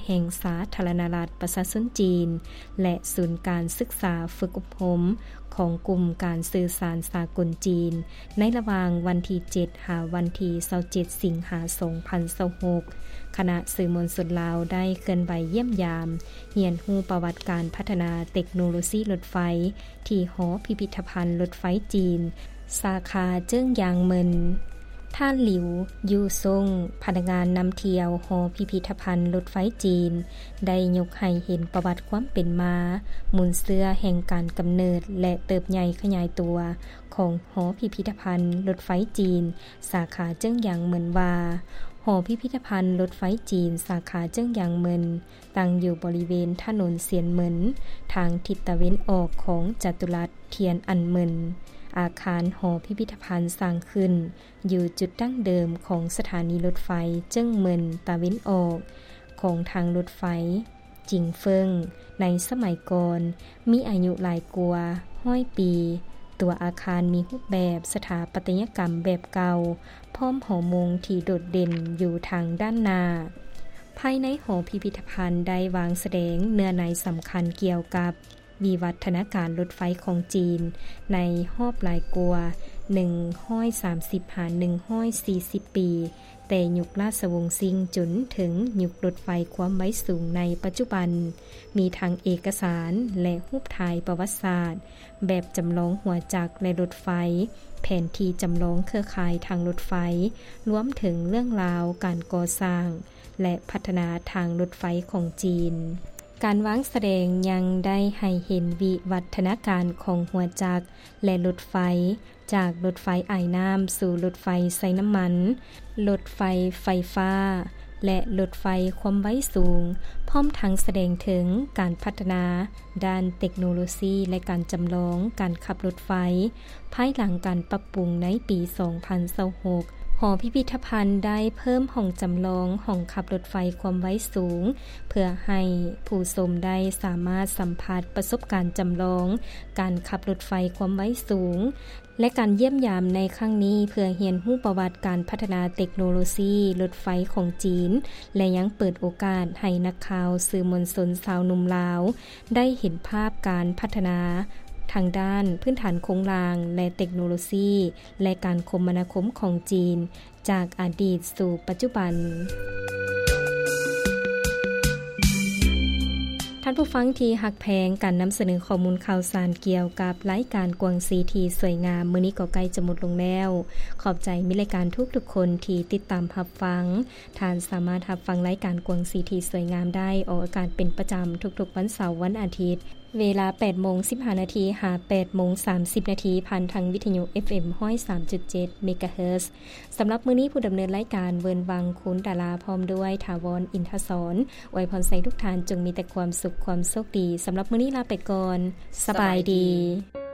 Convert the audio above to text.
ແຫ່ງສາທາລະນະລັດປະຊາຊົນຈີນ ແລະ ສູນການສຶກສາຝຶກອົບຮົມຂອງກຸ່ມການສື່ສານສາກົນຈີນ ໃນລະຫວ່າງວັນທີເຈັດ ຫາວັນທີຊາວເຈັດ ສິງຫາ ສອງພັນຊາວຫົກ, ຄະນະສື່ມວນຊົນລາວໄດ້ເຄື່ອນໄຫວຢ້ຽມຢາມ ຮຽນຮູ້ປະຫວັດການພັດທະນາເຕັກໂນໂລຊີລົດໄຟ ທີ່ຫໍພິພິທະພັນລົດໄຟຈີນ ສາຂາເຈິ້ງຢາງເມິນ. ທ່ານ ຫຼິວ ຢູ່ຊົງ ພະນັກງານນຳທ່ຽວຫໍພິພິທະພັນລົດໄຟຈີນ ໄດ້ຍົກໃຫ້ເຫັນປະຫວັດຄວາມເປັນມາ, ມູນເຊື້ອແຫ່ງການກຳເນີດ ແລະ ເຕີບໃຫຍ່ຂະຫຍາຍຕົວຂອງຫໍພິພິທະພັນລົດໄຟຈີນ ສາຂາເຈິ້ງຢາງເມິນວ່າ, ຫໍພິພິທະພັນລົດໄຟຈີນ ສາຂາເຈິ້ງຢາງເມິນ ຕັ້ງຢູ່ບໍລິເວນຖະໜົນຊຽນເມິນ ທາງທິດຕາເວັນອອກຂອງຈະຕຸລັດທຽນອັນເມິນ. ອາຄານຫໍພິພິທະພັນສ້າງຂຶ້ນຢູ່ຈຸດດັ້ງເດີມຂອງສະຖານີລົດໄຟເຈິ້ງເມິນຕາເວັນອອກຂອງທາງລົດໄຟຈິງເຟິ້ງ ໃນສະໄໝກ່ອນ ມີອາຍຸຫຼາຍກວ່າຮ້ອຍປີ. ຕົວອາຄານມີຮູບແບບສະຖາປັດຕະຍະກຳແບບເກົ່າ, ພ້ອມຫໍໂມງທີ່ໂດດເດັ່ນຢູ່ທາງດ້ານໜ້າ. ພາຍໃນຫໍພິພິທະພັນໄດ້ວາງສະແດງເນື້ອໃນສຳຄັນກ່ຽວກັບວິວັດທະນາການລົດໄຟຂອງຈີນໃນຮອບຫຼາຍກວ່າໜຶ່ງຮ້ອຍສາມສິບຫາໜຶ່ງຮ້ອຍສີ່ສິບປີ, ແຕ່ຍຸກລາຊະວົງຊິງຈົນເຖິງຍຸກລົດໄຟຄວາມໄວສູງໃນປັດຈຸບັນ, ມີທັງເອກະສານ ແລະ ຮູບຖ່າຍປະຫວັດສາດ ແບບຈຳລອງຫົວຈັກ ແລະ ລົດໄຟ, ແຜນທີ່ຈຳລອງເຄືອຂ່າຍທາງລົດໄຟ, ລວມເຖິງເລື່ອງລາວການກໍ່ສ້າງ ແລະ ພັດທະນາທາງລົດໄຟຂອງຈີນ. ການວາງສະແດງຍັງໄດ້ໃຫ້ເຫັນວິວັດທະນາການຂອງຫົວຈັກ ແລະ ລົດໄຟ, ຈາກລົດໄຟອາຍນ້ຳສູ່ລົດໄຟໃຊ້ນ້ຳມັນ, ລົດໄຟໄຟຟ້າ ແລະ ລົດໄຟຄວາມໄວສູງ, ພ້ອມທັງສະແດງເຖິງການພັດທະນາດ້ານເຕັກໂນໂລຊີ ແລະ ການຈຳລອງການຂັບລົດໄຟ ພາຍຫຼັງການປັບປຸງໃນປີສອງພັນຊາວຫົກ, ຫໍພິພິທະພັນໄດ້ເພີ່ມຫ້ອງຈຳລອງຫ້ອງຂັບລົດໄຟຄວາມໄວສູງ ເພື່ອໃຫ້ຜູ້ຊົມໄດ້ສາມາດສຳຜັດປະສົບການຈຳລອງການຂັບລົດໄຟຄວາມໄວສູງ ແລະ ການຢ້ຽມຢາມໃນຄັ້ງນີ້ ເພື່ອຮຽນຮູ້ປະຫວັດການພັດທະນາເຕັກໂນໂລຊີລົດໄຟຂອງຈີນ ແລະ ຍັງເປີດໂອກາດໃຫ້ນັກຂ່າວ, ສື່ມວນຊົນຊາວໜຸ່ມລາວ ໄດ້ເຫັນພາບການພັດທະນາທາງດ້ານພື້ນຖານໂຄງລ່າງ ແລະ ເຕັກໂນໂລຊີ ແລະ ການຄົມມະນາຄົມຂອງຈີນ ຈາກອະດີດສູ່ປັດຈຸບັນ. ທ່ານຜູ້ຟັງທີ່ຮັກແພງ, ການນຳສະເໜີຂໍ້ມູນຂ່າວສານກ່ຽວກັບລາຍການກວາງສີທີ່ສວຍງາມ ມື້ນີ້ກໍໃກ້ຈະໝົດລົງແລ້ວ. ຂອບໃຈມິດລາຍການທຸກໆຄົນທີ່ຕິດຕາມຮັບຟັງ. ທ່ານສາມາດຮັບຟັງລາຍການກວາງສີທີ່ສວຍງາມໄດ້ອອກອາກາດເປັນປະຈຳທຸກໆວັນເສົາ, ວັນອາທິດ ເວລາແປດໂມງສິບຫ້ານາທີ ຫາແປດໂມງສາມສິບນາທີ ຜ່ານທາງວິທະຍຸ ເອັຟເອັມ ຮ້ອຍສາມຈຸດເຈັດ ເມກາເຮີດ. ສຳລັບມື້ນີ້ ຜູ້ດຳເນີນລາຍການ ເວີນວັງ ຄູນດາລາ ພ້ອມດ້ວຍ ຖາວອນ ອິນທະສອນ ອວຍພອນໃຫ້ທຸກທ່ານຈົ່ງມີແຕ່ຄວາມສຸກ, ຄວາມໂຊກດີ. ສຳລັບມື້ນີ້ລາໄປກ່ອນ. ສະບາຍດີ.